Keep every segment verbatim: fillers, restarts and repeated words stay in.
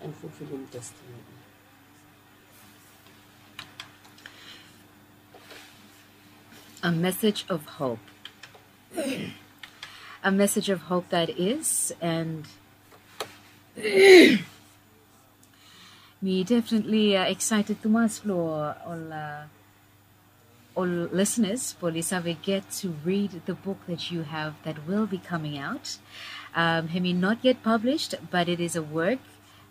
and fulfilim destiny. A message of hope. A message of hope that is, and mi definitely uh, excited tumas lo ol uh, ol listeners, blo oli save get to read the book that you have that will be coming out. Um, hemi not yet published, but it is a work,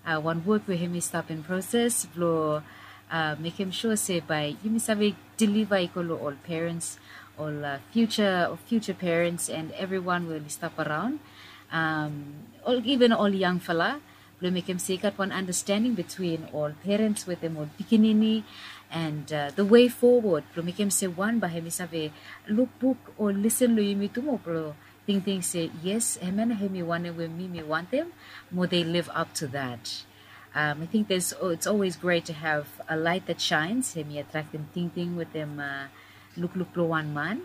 uh, wan work we hemi stap in process blo uh, mekem sure se bae yumi save deliver i go lo ol parents, ol uh, future, ol future parents, and everyone we oli stap around, um, ol, even ol yangfala, blo mekem se i gat wan understanding between ol parents wetem ol pikinini, and uh, the way forward blo mekem se wan bae hemi save luk buk o listen lo yumi tu moa blo tingting se, yes, hemia nao hemi wanem we mi mi wantem, mo they live up to that. Um, I think there's, oh, it's always great to have a light that shines. Hemi attractim tingting wetem uh, lukluk blo wan man.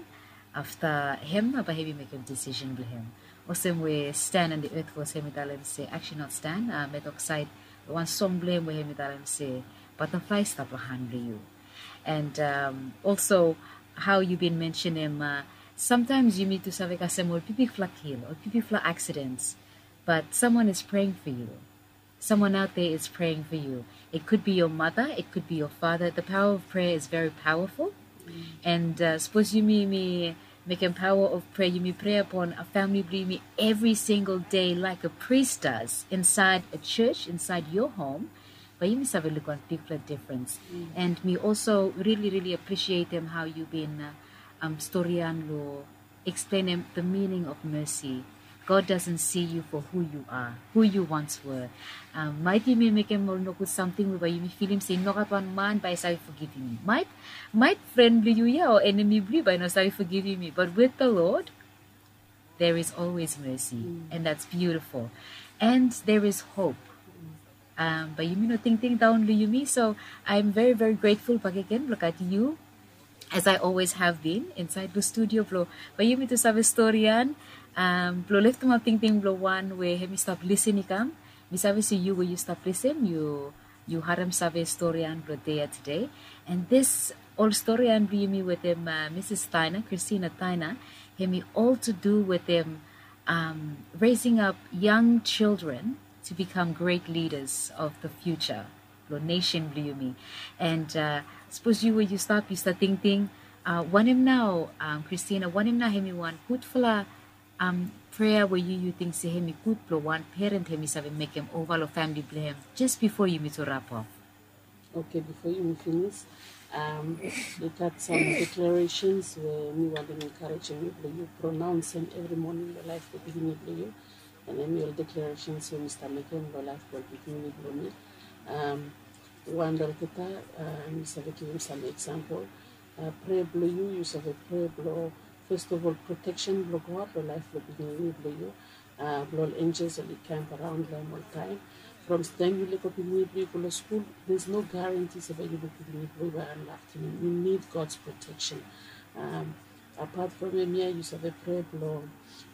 Afta hem nao bae hemi mekem decision blo hem. Olsem we Stan and the Earth Force hemi talem se, actually not Stan, uh, Metok Said, wan song blo hem we hemi talem se, butterfly stap lo han blo yu. And um, also, how you been mentioning, uh, sometimes yumi tu save kasem ol bigfala kil, ol bigfala accidents, but someone is praying for you. Someone out there is praying for you. It could be your mother, it could be your father. The power of prayer is very powerful. And uh, sapos yumi, yumi mekem power of prayer, yumi prea upon a family blo yumi every single day like a priest does inside a church, inside your home, bae yumi save luk wan bigfala difference. And mi also really, really appreciatem how you been uh, um, storian lo explainem the meaning of mercy. God doesn't see you for who you are, who you once were. Um, maet yumi mekem ol nogud samting we bae yumi filim se i no gat wan man bae i save fogivim mi. Maet, maet fren blo yu ia o enemi blo yu bae i no save fogivim mi. But with the Lord, there is always mercy, and that's beautiful. And there is hope. Um, bae yumi no tingting daon lo yumi. So I'm very, very grateful bakegen blo gat yu, as I always have been, insaed lo studio blo bae yumi tu save storian, um, blo leftemap tingting blo wan we hemi stap lisin i kam. Mi save se yu we yu stap lisin, yu, yu harem save storian blo dei ya tede. And this ol storian blo yumi wetem uh, Mrs Tyner, Christina Tyner, hemi all to do wetem um, raising up young children to become great leaders of the future blo nation blo yumi. And uh, sapos yu we yu stap, yu stap tingting, uh, wanem nao, um, Christina, wanem nao hemi wan gudfala um, prea we yu, yu ting se hemi gud blo wan parent hemi save mekem ova lo famili blo hem, just bifo yumi tu wrap up? Okay, bifo yumi finis, um, i gat sam declarations we mi wantem encouragem yu blo yu pronaonsem evri moning lo laef blo pikinini blo yu. And hemi ol declarations we mi stap mekem lo laef blo pikinini blo mi. Um, wan olgeta, uh, mi save givim sam eksampol. Uh, prea blo yu, yu save prea blo, first of all, protection blo God lo laef blo pikinini blo yu. Uh, blo ol angels oli camp around lo hem oltaem. From taem yu lego pikinini blo yu go lo skul, there's no guarantee se bae yu luk pikinini blo yu bae unlock to him. You need God's protection. Um, apart from hemia, yu save prea blo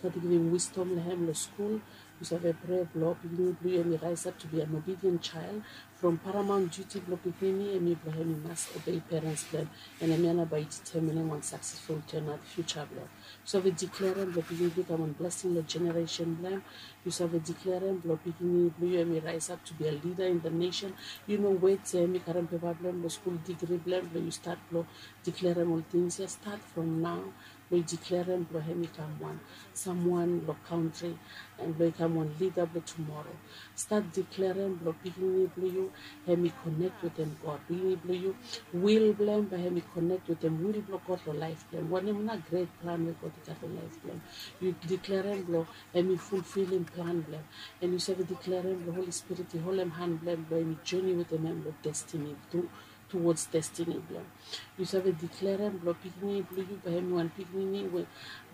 God i givim wisdom lo hem lo skul. Yu save prea blo pikinini blo yu hemi rise up to be an obedient child. From paramount duty blo pikinini hemi blo hemi mas obey parents blo hem. And hemia nao bae i determinim wan successful turnout future blo hem. Yu save declarem blo pikinini blo yu kam wan blessing lo generation blo hem. Yu save declarem blo pikinini blo yu hemi rise up to be a leader in the nation. Yu no wet se hemi karem pepa blo hem lo skul, degree blo hem, blo yu stat blo declarem ol tings ia. Stat from nao blo yu declarem blo hemi kam wan samwan lo kantri, and blo i kam wan leader blo tumoro. Stat declarem blo pikinini blo yu hemi connect wetem God. Pikinini blo yu, will blo hem bae hemi connect wetem will blo God lo laef blo hem. Wanem nao great plan we God i gat lo laef blo hem, yu declarem blo hemi fulfilim plan blo hem. And yu save declarem blo Holy Spirit i holem han blo hem blo hemi journey wetem hem lo destiny tu, towards destiny blo hem. Yu save declarem blo pikinini blo yu bae hemi wan pikinini we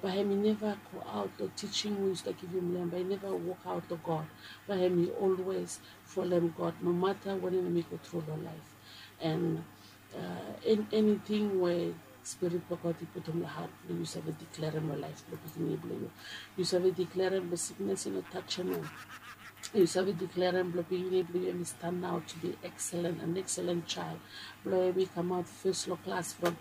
bae hemi neva go aot lo teaching we yu stap givim lo hem, bae i neva wokaot lo God. Bae hemi always folem God no mata wanem hemi go tru lo laef. And uh, eniting we Spirit blo God i putum lo hat blo yu, yu save declarem lo laef blo pikinini blo yu. Yu save declarem blo siknes i no tajem hem. Yu save deklarem blong pikinini blong yu em i turn out to be excellent, an excellent child. Blong em i kamaot fes long klas from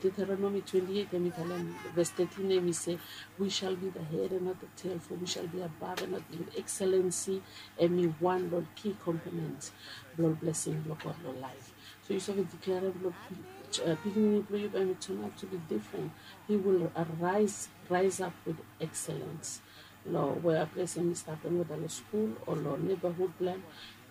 Deuteronomi twenty-eight, em i talem, ves thirteen, em i se, "We shall be the head and not the tail, for we shall be above and not beneath." Excellency em i wan long ki component blong blessing blong God long laef. So yu save deklarem blong pikinini blong yu bae em i turn out to be different. He will arise, rise up with excellence. Long wea ples em i stap long, weda long skul o long neighborhood blong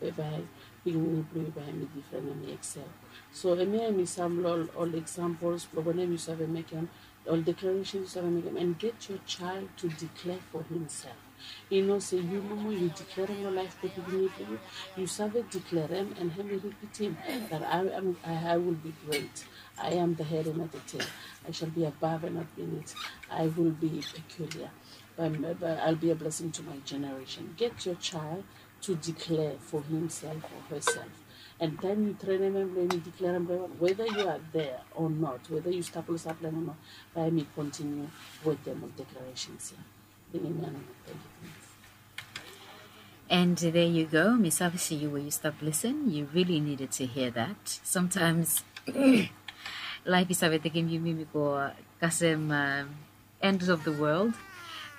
em, bae pikinini blong yu bae em i different, em i excel. So hemia em i sam long ol examples blong wanem yu save mekem, ol declaration yu save mekem, and get your child to declare for himself. I no se yu nomo yu deklarem long laef blong pikinini blong yu. Yu save deklarem and hem i ripitim that I am, I, I will be great. I am the head and not the tail. I shall be above and not beneath. I will be peculiar. But, but I'll be a blessing to my generation. Get your child to declare for himself or herself. And taem yu trenem hem blong hem i deklarem blong hem, whether you are there or not, whether yu stap long saplem o not, bae hem i continue wetem ol declarations ia. Bringim mi another. Thank you. And there you go, Miss Avisi, you where you stop listen. You really needed to hear that. Sometimes life is sabe taking you mimi go kasem um, end of the world.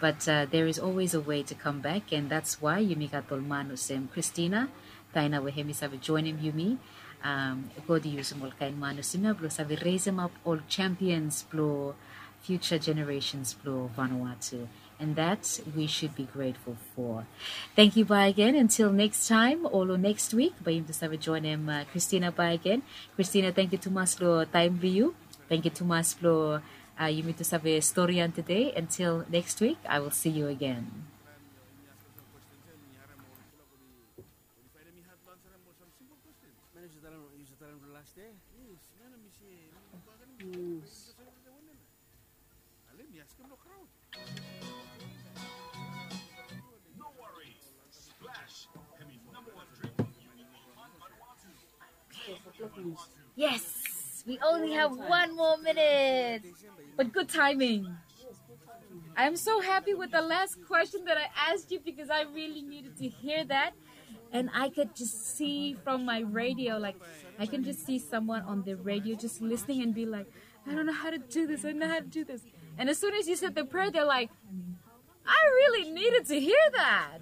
But uh, there is always a way to come back, and that's why yumi gat ol man olsem Christina Taina we hemi sabe joinim yumi. Um, God i yusum ol kain man olsem ia blong sabe raisem up ol champions blong future generations blong Vanuatu. And that we should be grateful for. Thank you, bye again. Until next time, olo next week, bae yumi tu sabe joinim uh, Christina bye again. Christina, thank you tumas long taem blong yu. Thank you tumas blong uh, yumi tu sabe storian today. Until next week, I will see you again. Yes, we only have one more minute. But good timing. I'm so happy with the last question that I asked you because I really needed to hear that. And I could just see from my radio, like, I can just see someone on the radio just listening and be like, "I don't know how to do this. I don't know how to do this." And as soon as you said the prayer, they're like, "I really needed to hear that."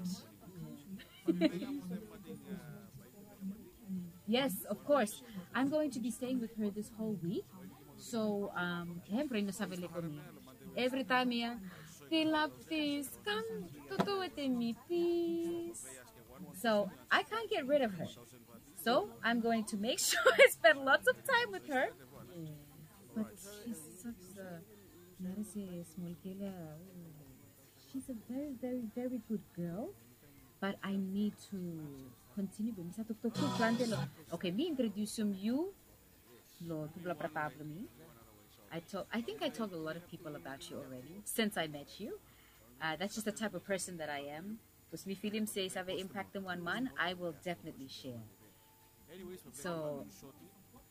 Yes, of course. I'm going to be staying with her this whole week. So, um, hem brei no save lego mi. Every time ia, "Fill up this, come, toto wetem mi, please." So, I can't get rid of her. So, I'm going to make sure I spend lots of time with her. But she's such a, she's a very, very, very good girl. But I need to continue. Be mi sa toktok tu plante long. Okay, mi introdusim yu long tufala brata blong mi. I talk, I think I told a lot of people about you already since I met you. Uh, that's just the type of person that I am. Bikos mi filim se i save impaktem wan man, I will definitely share. So,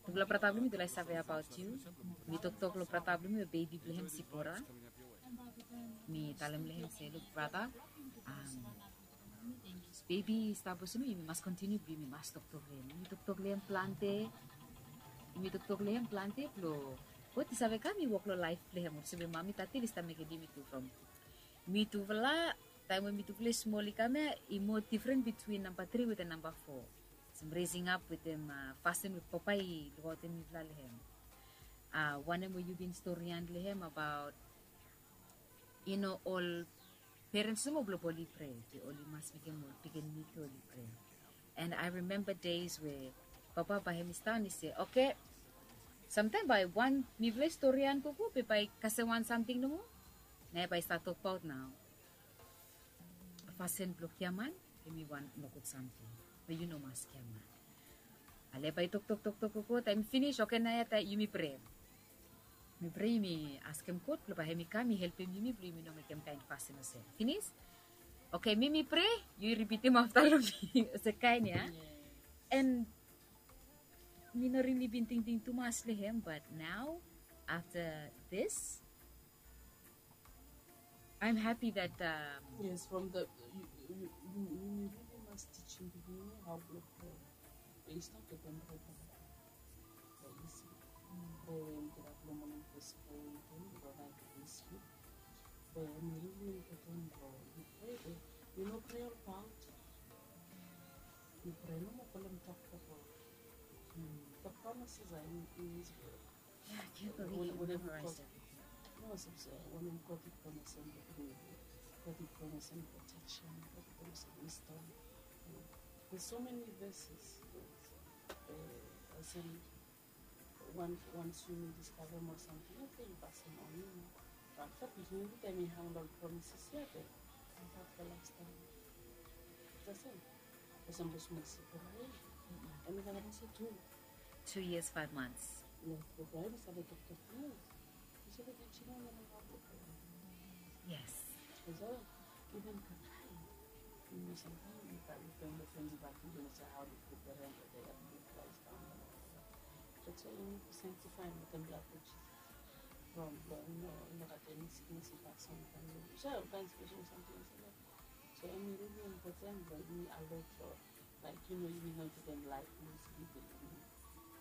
tufala brata blong mi tu laik save abaot yu. Mi toktok long brata blong mi we bebi blong hem Sipora. Mi talem long hem se, "Luk brata, um, bebi i stap olsem ia, yumi mas kontiniu blong yumi mas toktok long hem. Yumi toktok long hem plante. Yumi toktok long hem plante blong God i save kam i wok long laef blong hem olsem we mami tati oli stap mekem yumi tu from." Mi tufala, taem we mi tufala i smol i kam ia, i moa difren bitwin namba tri wetem namba fo. Olsem raising up wetem, uh, fasin we papa i lukaotem mifala long hem. Uh, wanem we yu bin storian long hem abaot, yu no, ol perens nomo blong oli prea, be oli mas mekem ol pikinini tu oli prea. And I remember days we papa bae hem i stap i se, okay, samtaem bae wan mifala i storian gogo be bae kasem wan samting nomo. Nao bae i stap tokbaot nao fasin blong giaman, hemi wan nogud samting. Be yu no mas giaman. Ale bae i toktok, toktok gogo, taem i finis, okay, nao ia taem yumi prea. Mi prea, yumi askem God blong bae hem i kam i helpem yumi blong yumi no mekem kaen fasin olsem. Finis? Okay, mi mi prea, yu ripitim afta long mi. Olsem kaen ia. And mi no rili bin tingting tumas long hem, but nao afta this, I'm happy that, um, yes, from the, you, Yumi rili mas tijim pikinini hao blong prea. Be i stap wetem prea. Be isi. Prea we yumi gat blong moning fes, prea we yumi gat blong naet we yumi slip. Be hemi rili impoten blong yu prea, be yu no prea olbaot. Yu prea nomo, folem toktok blong God. The promises are in, in His word. Yeah, I can't believe you memorized everything. No, so, so, wanem God i promisem blong gud, God i promisem protection, God i promisem wisdom. There's so many verses. Eh, olsem, wan, once yumi discover more something, okay, yu pasem on, yu no. But afta pikinini taem i hang long promises ia, be i stap long lifestyle. Olsem, olsem blong smol sikin, right? Hemi gat olsem tu. Two years, five months. Yes, before hemi save toktok pinis. Yu save tijim hao blong prea. Yes. Olsem, iven kakae. Yu no, samtaem yu kari friend, friend i batim, yu no save hao blong prea, be they have big price down. That's why yu nid to sanctify wetem blood of Jesus. From blong, yu no, yu no gat eni siknes i pass on from yu. So, kaen spesel samting olsem. So, hemi rili impoten blong yumi alert, o, like, yu no, yumi no givim laef blong yumi slip.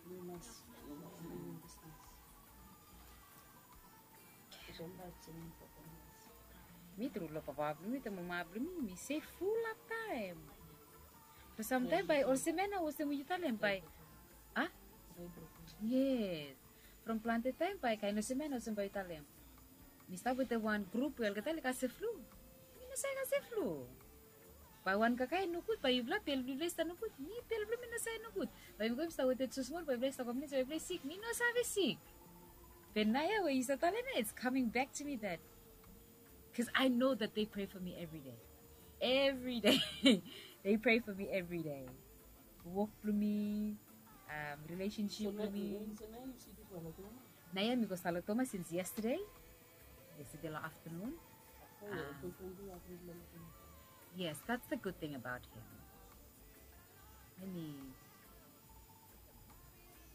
Yumi mas, yu no, yumi bisnis. Olsem, that's an important lesson. Mi tru long papa blong mi wetem mama blong mi, mi seful long taem. Be samtaem bae olsem ia nao, olsem we yu talem bae. A? Yes. From plante taem bae kaen olsem ia nao, olsem bae yu talem. Mi stap wetem wan grup we olgeta oli gat seflu. Mi no save gat seflu. Bae wan kakae nogud, bae yufala bel blong yufala i stap nogud. Mi bel blong mi no save nogud. Bae mi go mi stap wetem tu smol, bae yufala i stap komiuniti, bae yufala i sik. Mi no save sik. Be naoia we yu stap talem ia, it's coming back to me that, 'cause I know that they pray for me every day. Every day. They pray for me every day. Wok blong mi, um, relationship blong mi. Naoia mi go stap long Thomas since yesterday. Yesterday long afternoon. Um, yes, that's the good thing about him. Hemi,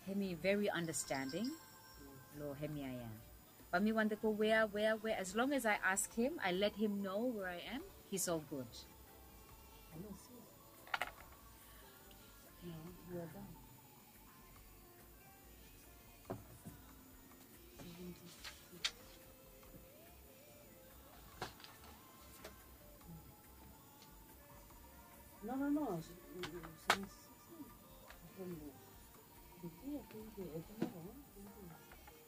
hemi very understanding. Long hemia ia. Bae mi wantem go wea, wea, wea. As long as I ask him, I let him know where I am, he's all good. No, no, no.